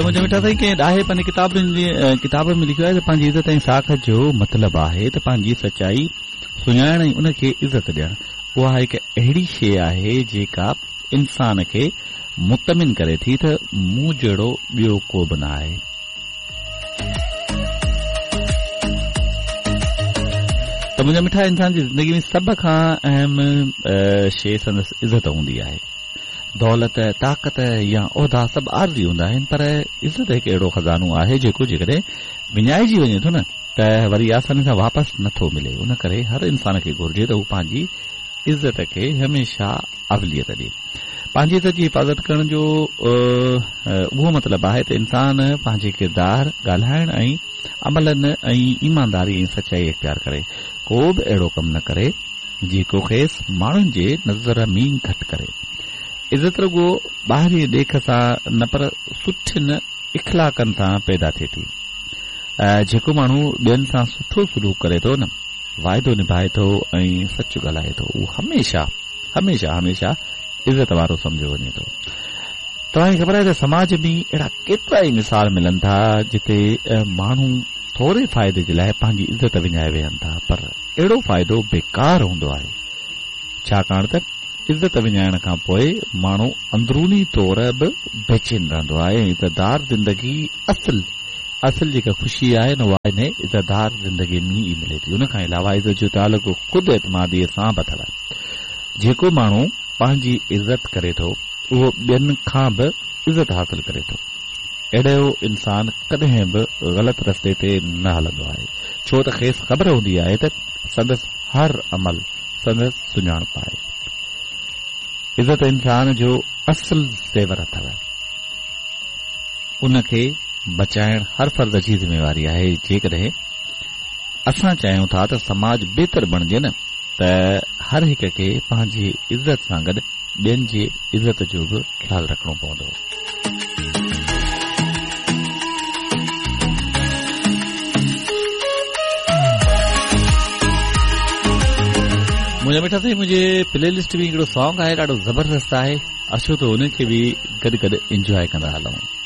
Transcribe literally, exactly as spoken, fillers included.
منهنجا مٺا سائين، ڪنهن ڏاهي پنهنجي ڪتابن جي ڪتاب ۾ لکيو آهي ته پنهنجي عزت ۽ ساک جو مطلب آهي ته پنهنجي سچائي سڃاڻڻ ۽ ان کي عزت ڏيڻ. اها هڪ اهڙي شيء آهي جيڪا انسان کي مطمئن ڪري ٿي ته مون جهڙو ٻيو ڪو به نه آهي. ته منهنجا مٺا، انسان جي زندگي ۾ سڀ کان اهم شيء سندس عزت هوندي آهي. دولت، طاقت يا عهدا سڀ عارضي هوندا آهن، پر عزت هڪ اهڙو خزانو آهي جيڪو جيڪڏهن وڃائجي وڃي ٿو نه ته وري آساني سان واپس نٿو ملي. ان ڪري هر انسان کي گهرجي ته هو پنهنجي عزت کي هميشه اوليت ڏئي. پنهنجي عزت جي حفاظت ڪرڻ جو اهو مطلب آهي ته انسان پنهنجي ڪردار، ڳالهائڻ ۽ عملن ۽ ايمانداري ۽ سچائي اختيار ڪري. ڪو به اهڙو ڪم نه ڪري جيڪو کيس ماڻهن جي نظر ۾ گهٽ ڪري. عزت رڳو ٻاهرين ڏيک سان نه پر سٺن اخلاقن سان پيدا ٿئي ٿي. جيڪو ماڻهو ٻين سان سٺو سلوڪ ڪري ٿو نه، واعدو نڀائي ٿو ۽ سچ ڳالهائي ٿو، اهو هميشه هميشه هميشه عزت وارو سمجهيو وڃي ٿو. توهان کي خبر آهي ته سماج ۾ اهڙا ڪيترا ئي مثال ملن ٿا جتي ماڻهو ٿوري فائدي جي لاءِ پنهنجي عزت وڃائي ويهن ٿا، پر اهڙو فائدو بيڪار هوندو آهي، ڇاڪاڻ ته عزت وڃائڻ کان پوءِ ماڻهو اندروني طور به بيچين رهندو آهي ۽ عزتدار زندگي اصل اصل جيڪا خوشي آهي نه، اها ان عزتدار زندگي ۾ ئي ملي ٿي. ان کان علاوه عزت جو تعلق خود اعتماديءَ سان به اٿو. جيڪو ماڻهو پنهنجي عزت ڪري ٿو اهو ٻين کان به عزت حاصل ڪري ٿو. اهڙو انسان ڪڏهن به غلط رستي تي نه هلندو آهي، ڇو ته کيس خبر هوندي آهي ته سندس هر عمل سندس سڃاڻپ آهي. عزت انسان جو اصل زيور اٿو، ان کي بچائڻ هر فرد جي ذميواري آهي. جيڪڏهن اسان چاهيون ٿا ته سماج بهتر بڻجي نه، ته هر هڪ کي پنهنجي عزت سان گڏ ٻين جي عزت جو به خيال رکڻو پوندو. منهنجا مٺا سائين، منهنجي پلي لسٽ ۾ هڪڙو سانگ آهي، ڏاڍو زبردست آهي. اچو ته ان کي به گڏ گڏ انجواءِ ڪندا هلون.